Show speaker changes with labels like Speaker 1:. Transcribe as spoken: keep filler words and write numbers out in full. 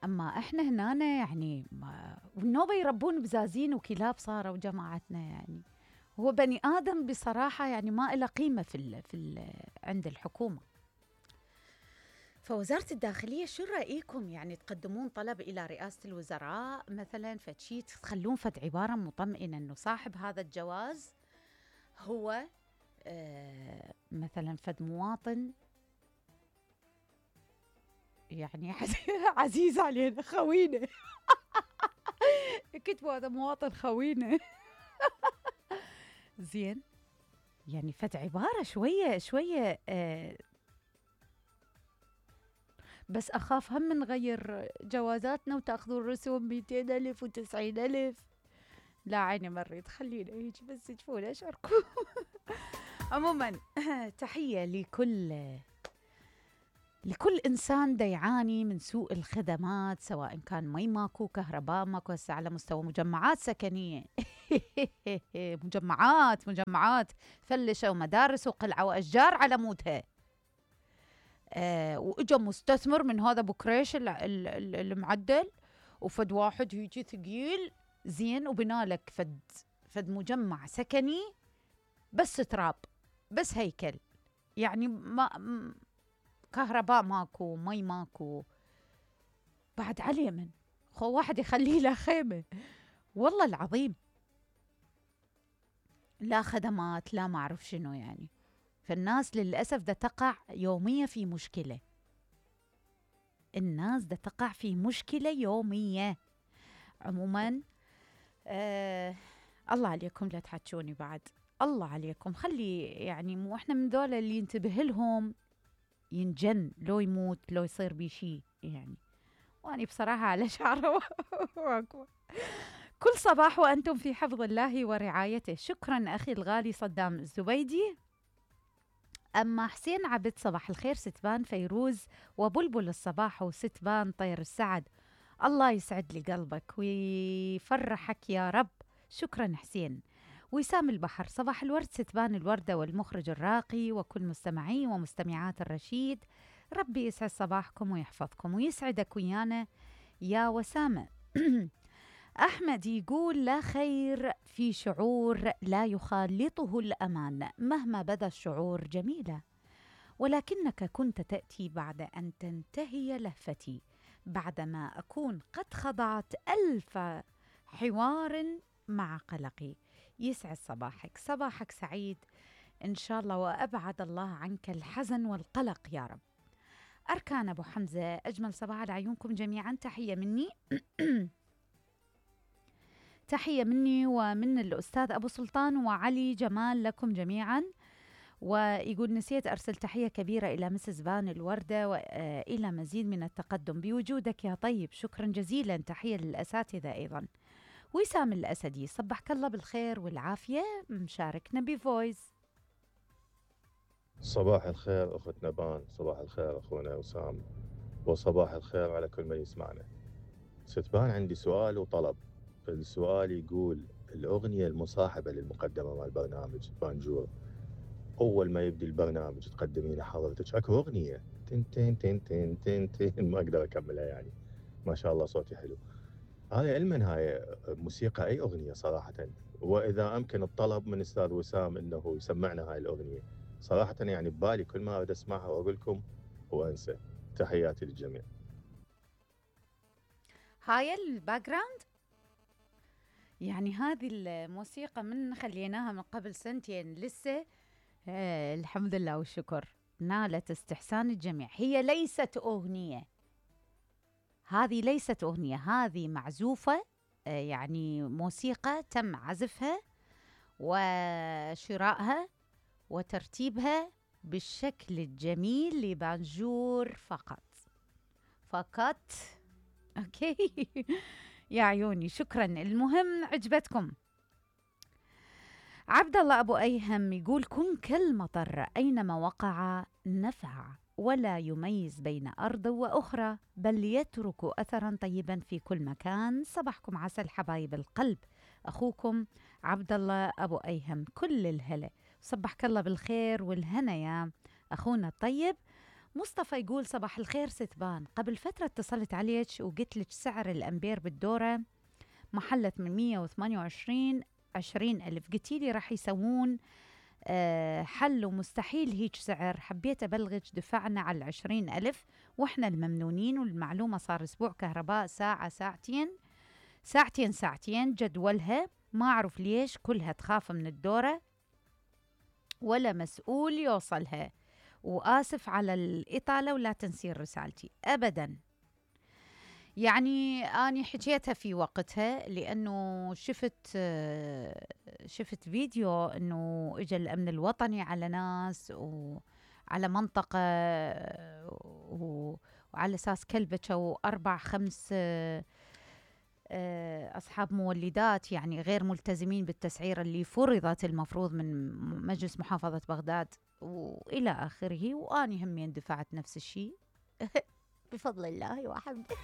Speaker 1: أما إحنا هنا يعني والنوبة يربون بزازين وكلاب صاروا جماعتنا يعني. هو بني آدم بصراحة يعني ما إله قيمة في ال في ال عند الحكومة. فوزارة الداخلية شو رأيكم يعني تقدمون طلب إلى رئاسة الوزراء مثلا فتشي تخلون فد عبارة مطمئنة إنه صاحب هذا الجواز هو آه مثلا فد مواطن يعني عزيز علينا خوينا كتبوا هذا مواطن خوينا زين يعني فد عبارة شوية شوية آه بس أخاف هم نغير جوازاتنا وتأخذوا الرسوم مئتين ألف وتسعين ألف. لا عيني مريض خلينا هيك بس تشوفون أشعركم. عموما تحية لكل لكل إنسان دا يعاني من سوء الخدمات سواء كان مي ماكو كهرباء ماكو هسه على مستوى مجمعات سكنية مجمعات مجمعات فلشوا مدارس وقلعوا وأشجار على مودها. آه وإجا مستثمر من هذا بكريش المعدل وفد واحد هيجي ثقيل زين وبنالك فد فد مجمع سكني بس تراب بس هيكل يعني ما كهرباء ماكو مي ماكو بعد على اليمن خو واحد يخليه له خيمة والله العظيم لا خدمات لا ما أعرف شنو يعني. فالناس للأسف دا تقع يوميا في مشكلة. الناس دا تقع في مشكلة يومية. عموما آه الله عليكم لا تحكوني بعد الله عليكم خلي يعني مو احنا من ذولا اللي ينتبه لهم ينجن لو يموت لو يصير بي شي يعني. واني بصراحة على شعره كل صباح وأنتم في حفظ الله ورعايته. شكرا أخي الغالي صدام الزبيدي. أما حسين عبد صباح الخير ستبان فيروز وبلبل الصباح وستبان طير السعد الله يسعد لي قلبك ويفرحك يا رب. شكرا حسين. وسام البحر صباح الورد ستبان الوردة والمخرج الراقي وكل مستمعي ومستمعات الرشيد ربي يسعد صباحكم ويحفظكم ويسعدك ويانا يا وسامة. أحمد يقول لا خير في شعور لا يخالطه الأمان مهما بدا الشعور جميلة ولكنك كنت تأتي بعد أن تنتهي لهفتي بعدما أكون قد خضعت ألف حوار مع قلقي. يسعد صباحك صباحك سعيد إن شاء الله وأبعد الله عنك الحزن والقلق يا رب. أركان أبو حمزة أجمل صباح لعيونكم جميعا تحية مني تحية مني ومن الأستاذ أبو سلطان وعلي جمال لكم جميعا. ويقول نسيت أرسل تحية كبيرة إلى مسز بان الوردة وإلى مزيد من التقدم بوجودك يا طيب. شكرا جزيلا تحية للأساتذة أيضا. وسام الأسدي صبحك الله بالخير والعافية مشاركنا بفويس.
Speaker 2: صباح الخير أختنا بان صباح الخير أخونا وسام وصباح الخير على كل من يسمعنا. ستبان عندي سؤال وطلب. السؤال يقول الأغنية المصاحبة للمقدمة مع البرنامج بانجور أول ما يبدي البرنامج تقدمين حضرتك أكو أغنية تن تن تن تن تن تن ما أقدر أكملها يعني ما شاء الله صوتي حلو. هاي علما هاي موسيقى أي أغنية صراحة وإذا أمكن الطلب من أستاذ وسام إنه يسمعنا هاي الأغنية صراحة يعني ببالي كل ما أريد أسمعها وأقول لكم وأنسى. تحياتي للجميع.
Speaker 1: هاي الباك جراوند يعني هذه الموسيقى من خليناها من قبل سنتين لسه آه الحمد لله والشكر نالت استحسان الجميع. هي ليست أغنية هذه ليست أغنية هذه معزوفة آه يعني موسيقى تم عزفها وشرائها وترتيبها بالشكل الجميل لبانجور فقط فقط. أوكي يا عيوني شكرا. المهم عجبتكم. عبد الله أبو أيهم يقول كن كالمطر أينما وقع نفع ولا يميز بين أرض وأخرى بل يترك أثرا طيبا في كل مكان. صباحكم عسل حبايب القلب. أخوكم عبد الله أبو أيهم كل الهلا. صبحك الله بالخير والهنا يا أخونا الطيب. مصطفى يقول صباح الخير ستبان، قبل فترة اتصلت عليك وقلت لك سعر الأمبير بالدورة محلت من مية وثمانية وعشرين عشرين ألف، قلتي لي راح يسوون أه حل ومستحيل هيك سعر، حبيت أبلغك دفعنا على العشرين ألف وإحنا الممنونين، والمعلومة صار أسبوع كهرباء ساعة ساعتين ساعتين ساعتين جدولها، ما أعرف ليش كلها تخاف من الدورة ولا مسؤول يوصلها، وآسف على الإطالة ولا تنسين رسالتي أبداً. يعني أنا حكيتها في وقتها لأنه شفت شفت فيديو أنه إجا الأمن الوطني على ناس وعلى منطقة وعلى أساس كلبة وأربع خمس أصحاب مولدات يعني غير ملتزمين بالتسعير اللي فرضت المفروض من مجلس محافظة بغداد وإلى آخره، وأنا همين دفعت نفس الشيء بفضل الله وحمده.